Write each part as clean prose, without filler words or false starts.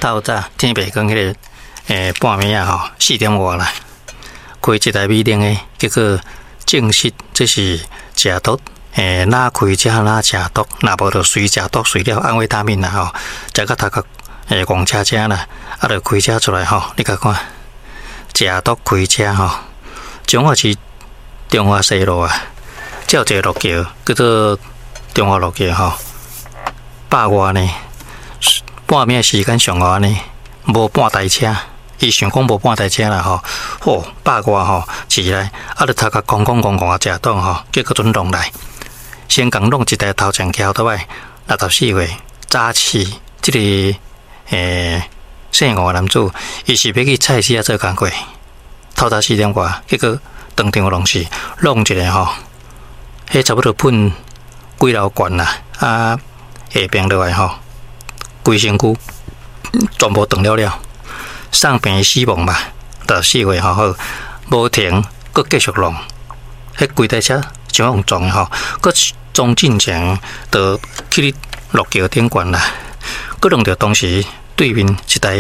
透早天袂光彼个半暝仔吼4點外啦，開一台美玲的，結果證實這是食毒，哪開車哪食毒，若無就隨食毒隨了安非他命啦吼，食甲頭殼戇車車啦，啊，就開車出來吼，你共看，食毒開車吼，彰化市中華西路啊，這有一個路橋叫做中華路橋吼，百外呢，半暝時間上午呢，無半台車，伊想講無半台車啦吼，吼百外吼，起來，啊，就頭殼空空戇戇啊，食毒吼，結果陣弄來，先共弄一台頭前橋倒來，64歲，早市這個姓吳的男子，伊是欲去菜市仔做工課，透早4點外，結果當場弄死，弄一个吼，彼差不多噴幾樓懸啦，啊下爿落來吼，規身軀全部斷了了，送病死亡嘛，64歲吼好，無停，閣繼續弄，彼規台車像用撞的吼，閣撞進前就去路橋頂懸啦，閣弄著當時對面一台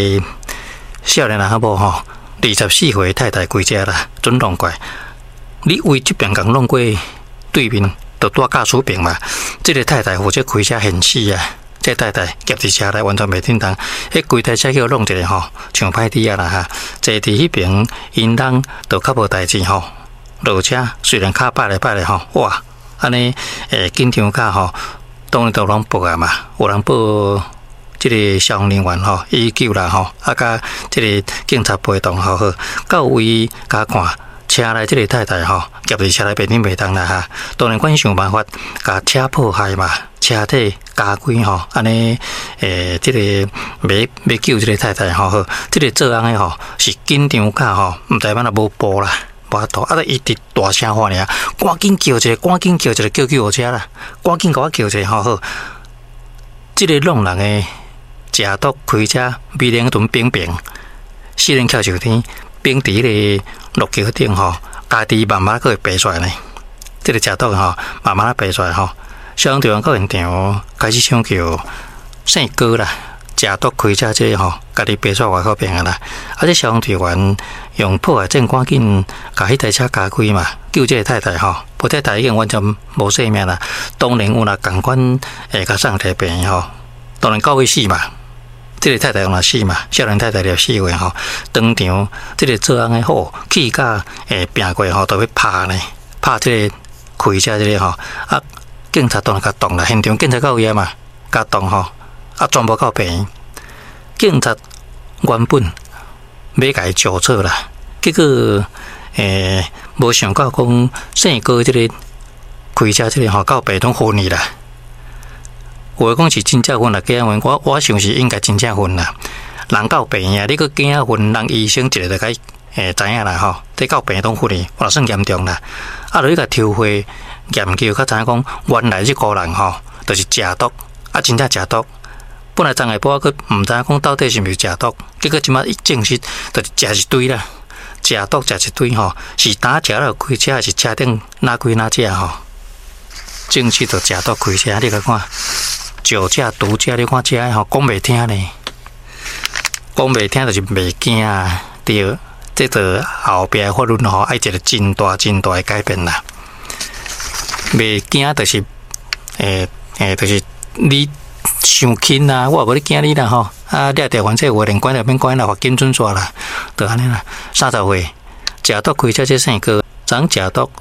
少年人仔某吼，24歲太太開車啦，準弄過來，你為這邊共弄過對面，就蹛駕駛爿嘛，這个太太負責開車現死啊！這個太太夾佇車內完全袂振動，彼規台車叫弄一个吼，像歹豬仔啦哈！坐佇彼爿，𪜶翁就較無代誌吼，落車雖然跤擺來擺來吼，哇！按呢緊張甲吼，當然都攏報啊嘛，有人報這个消防人員吼，119啦吼，啊佮這个警察陪同吼好，到位共看。車內這个太太吼，夾佇車內袂振袂動啦哈，當然阮想辦法共車破壞嘛，車體加開吼，按呢這個欲欲救這个太太吼好，這个做翁的吼是緊張甲吼，毋知按怎無步啦，無法度，啊，就一直大聲喊爾，趕緊叫一个，趕緊叫一个叫救護車啦，趕緊共我叫一个吼好，這个弄人的食毒開車，美玲陣冰冰，四輪翹上天，冰佇彼个路橋頂吼，家己慢慢閣會爬出來呢。這個食毒吼，慢慢仔爬出來吼。消防隊員到現場開始搶救，姓高啦，食毒開車這個吼，家己爬出來外口爿啊啦。啊，這消防隊員用破壞證趕緊共彼台車加開嘛，救這個太太吼，無太太已經完全無性命啦。當然有若仝款會共送佇病院吼，當然到尾死嘛。這个太太用來死嘛，少年太太64歲吼，當場這个做翁的吼，氣甲拚過吼，都欲拍呢，拍這个開車這个吼，啊，警察當然共擋啦，現場警察到位啊嘛，共擋吼，啊，全部到病院，警察原本欲共伊招錯啦，結果無想到講姓高這个開車這个吼，到病院昏去啦。有的講是真正昏啦，假昏，我想是應該真正昏啦。人到病院，你閣驚昏，人醫生一个就該知影啦吼。這到病院攏昏去，嘛算嚴重啦。啊，落去共抽血研究，才知影講原來這個人吼，就是食毒，啊，真正食毒。本來昨下晡閣毋知影講到底是毋是食毒，結果這馬一證實，就是食一堆啦，食毒食一堆吼，是當食了開車，還是車頂哪開哪食吼？證實就食毒開車，你共看。酒駕、毒駕，你看這吼講袂聽呢，講袂聽就是袂驚啊，對，這就後壁法律吼愛一個真大真大的改變啦。袂驚就是，就是你傷輕啦，我也無咧驚你啦吼。啊，掠著反正有連關就免關啦，罰金準煞啦，就按呢啦。30歲，食毒開車這姓高，昨食毒。